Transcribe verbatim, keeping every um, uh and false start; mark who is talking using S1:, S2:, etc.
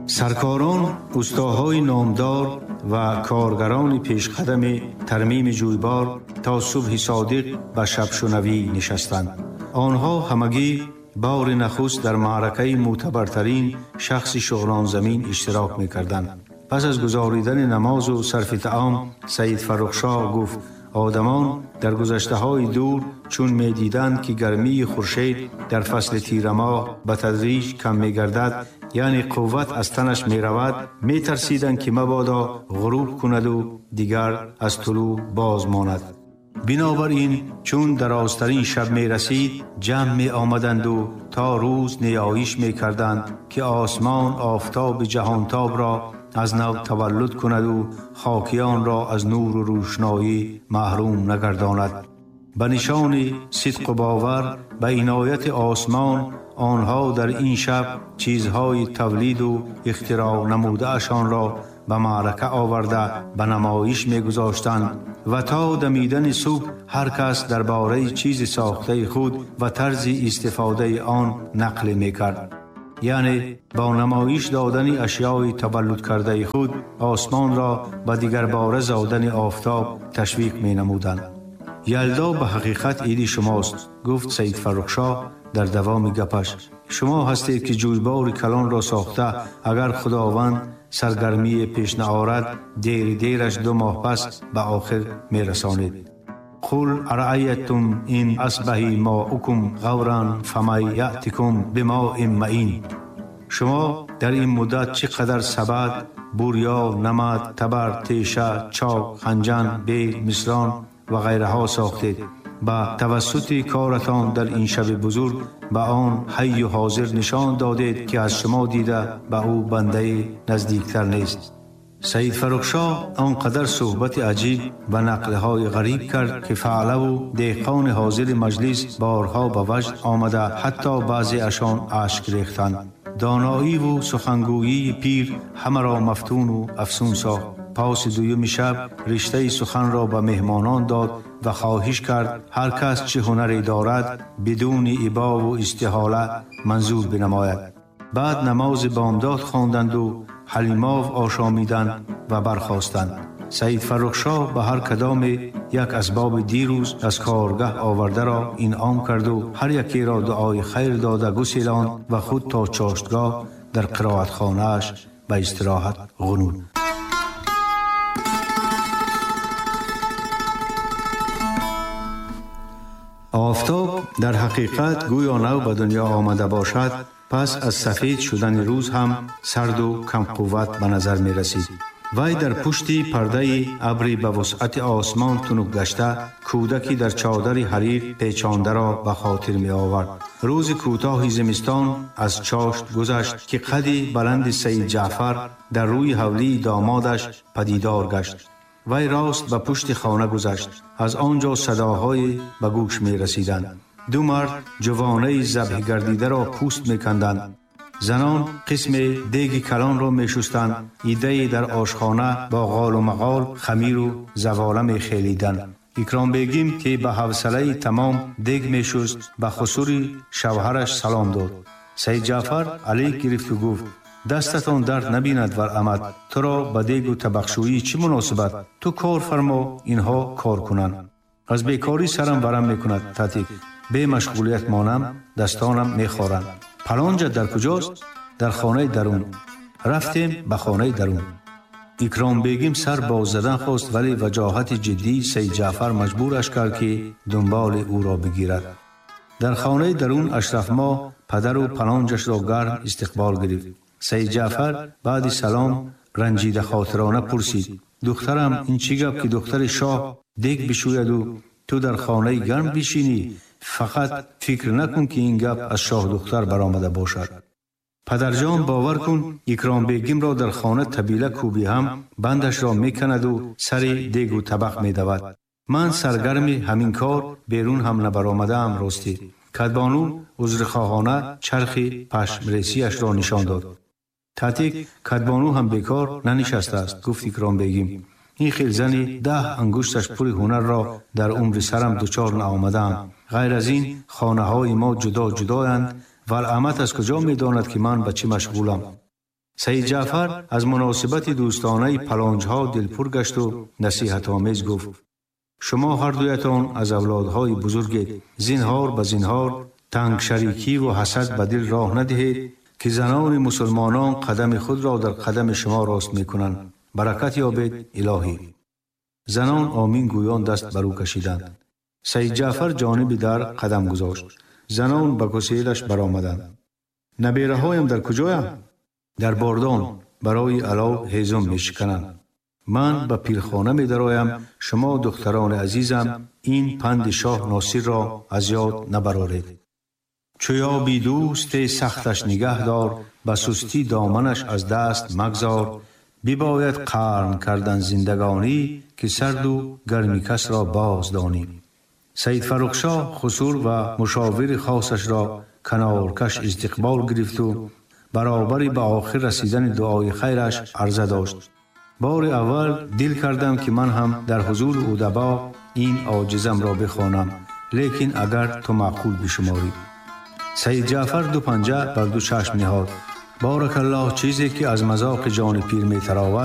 S1: Саркорон, устоҳои номдор ва коргарони пешқадами тармими ҷӯйбор то субҳи содиқ ба шабшунавӣ нишастанд. Онҳо ҳамагӣ бори нахуст дар маъракаи мӯътабартарин шахси шуғнонзамин иштирок мекарданд. Пас аз гузоридани намозу сарфи таом Саид Фаррухшоҳ гуфт: одамон дар гузаштаҳои дур чун медиданд, ки гармии хуршед дар фасли тирамоҳ ба тадриҷ кам мегардад, яъне қувват аз танаш меравад, метарсиданд, ки мабодо ғуруб кунаду дигар аз тулӯъ боз монад. Бинобар ин чун дарозтарин шаб мерасид, ҷамъ меомаданду то рӯз ниёиш мекарданд, ки осмон офтоби ҷаҳонтобро аз нав таваллуд кунаду хокиёнро аз нуру рӯшноӣ маҳрум нагардонад. Ба нишони сидқу бовар ба инояти осмон онҳо дар ин шаб чизҳои тавлиду ихтироъ намудаашонро ба маърака оварда ба намоиш мегузоштанд ва то дамидани субҳ ҳар кас дар бораи чизи сохтаи худ ва тарзи истифодаи он нақл мекард. Яъне бо намоиш додани ашёи таваллудкардаи худ осмонро ба дигарбора зодани офтоб ташвиқ менамуданд. Ялдо ба ҳақиқат иди шумост, гуфт Саид Фаррухшоҳ дар давоми гапаш. Шумо ҳастед, ки ҷӯйбори калонро сохта, агар Худованд саргармие пеш наорад, дери дераш ду моҳ пас ба охир мерасонед. Қул араайтум ин асбаҳи моукум ғавран фамай яътикум бимоин маин. Шумо дар ин муддат чӣ қадар сабад, бурё, намад, табар, теша, чок, ханҷан, бел, мисрон ва ғайраҳо сохтед. Ба тавассути коратон дар ин шаби бузург ба он ҳайю ҳозир нишон додед, ки аз шумо дида ба ӯ бандаи наздиктар нест. Саид Фаррухшоҳ он қадар суҳбати аҷиб ва нақлҳои ғариб кард, ки фаълаву деҳқони ҳозири маҷлис борҳо ба ваҷд омада, ҳатто баъзеашон ашк рехтанд. Доноиву сухангӯии пир ҳамаро мафтуну афсун сохт. Паси дуюми шаб риштаи суханро ба меҳмонон дод ва хоҳиш кард ҳар кас чӣ ҳунаре дорад бидуни ибову истиҳола манзур бинамояд. Баъд намози бомдод хонданду ҳалимов ошомиданд ва бархостанд. Саид Фаррухшоҳ ба ҳар кадоме як асбоби дирӯз аз коргаҳ овардаро инъом карду ҳар якеро дуои хайр дода гуселонд ва худ то чоштгоҳ дар қироатхонааш ба истироҳат ғунуд. Офтоб дар ҳақиқат гӯё нав ба дунё омада бошад, пас аз сафед шудани рӯз ҳам сарду камқувват ба назар мерасид. Вай дар пушти пардаи абри ба вусъати осмон тунук гашта, кӯдаки дар чодари ҳарир печондаро ба хотир меовард. Рӯзи кӯтоҳи зимистон аз чошт гузашт, ки қади баланди Саид Ҷаъфар дар рӯи ҳавлии домодаш падидор гашт. Вай рост ба пушти хона гузашт. Аз он ҷо садоҳое ба гӯш мерасиданд. Ду мард ҷувонаи забҳ гардидаро пӯст меканданд. Занон қисме деги калонро мешустанд, иддае дар ошхона бо ғолу мағол хамиру завола мехелиданд. Икромбегим, ки ба ҳавсалаи тамом дег мешуст, ба хусури шавҳараш салом дод. Саид Ҷаъфар алейк гирифту гуфт: дастатон дард набинад, варамад, туро ба дегу табақшӯӣ чӣ муносибат? Ту кор фармо, инҳо кор кунанд. Аз бекорӣ сарам варам мекунад, татик. Бемашғулият монам, дастонам мехоранд. Палонҷа дар куҷост? Дар хонаи дарун. Рафтем ба хонаи дарун. Икромбегим сар боз задан хост, вале ваҷоҳати ҷиддии Саид Ҷаъфар маҷбураш кард, ки дунболи ӯро бигирад. Дар хонаи дарун Ашрафмоҳ падару палонҷашро гарм истиқбол гирифт. Саид Ҷаъфар баъди салом ранҷидахотирона пурсид: духтарам, ин чӣ гап, ки духтари шоҳ дег бишӯяду ту дар хонаи гарм бишинӣ? Фақат фикр накун, ки ин гап аз шоҳдухтар баромада бошад. Падарҷон, бовар кун, Икромбегимро дар хона табила кӯбӣ ҳам бандашро меканаду сари дегу табақ медавад. Ман саргарми ҳамин кор берун ҳам набаромадаам ростӣ. Кадбону узрхоҳона чархи пашмресиашро нишон дод. Татик, кадбону ҳам бекор нанишастааст, гуфт Икромбегим. Ин хел зани даҳ ангушташ пури ҳунарро дар умри сарам дучор наомадаам. Ғайр аз ин хонаҳои мо ҷудо ҷудоянд. Валамат аз куҷо медонад, ки ман ба чӣ машғулам? Саид Ҷаъфар аз муносибати дӯстонаи паланҷҳо дилпур гашт ва насиҳатомез гуфт: шумо ҳар дуятон аз авлодҳои бузургед, зинҳор ба зинҳор танг шарикӣ ва ҳасад ба дил роҳ надиҳед ки занони мусулмонон қадами худро дар қадами шумо рост мекунанд. Баракат ёбед илоҳӣ. Занон омин гӯён даст бар ӯ кашиданд. Саид Ҷаъфар ҷониби дар қадам гузошт. Занон ба куселаш баромаданд. Набераҳоям дар куҷоянд? Дар бордон барои алов ҳезум мешикананд. Ман ба пирхона медароям. Шумо духтарони азизам, ин панди шоҳ Носирро аз ёд набароред. Чу ёби дӯсте сахташ нигаҳ дор, ба сустӣ доманаш аз даст магзор. Бибояд қарн кардан зиндагонӣ, ки сарду гарми касро боз донӣ. Саид Фаррухшоҳ хусур ва мушовири хосашро каноркаш истиқбол гирифту баробари ба охир расидани дуои хайраш арза дошт. Бори аввал дил кардам ки ман ҳам дар ҳузури удабо ин оҷизамро бихонам, лекин агар ту маъқул бишуморӣ. Саид Ҷаъфар ду панҷа бар ду чашм ниҳод. Баракаллоҳ, чизе ки аз мазоқи ҷони пир метаровад.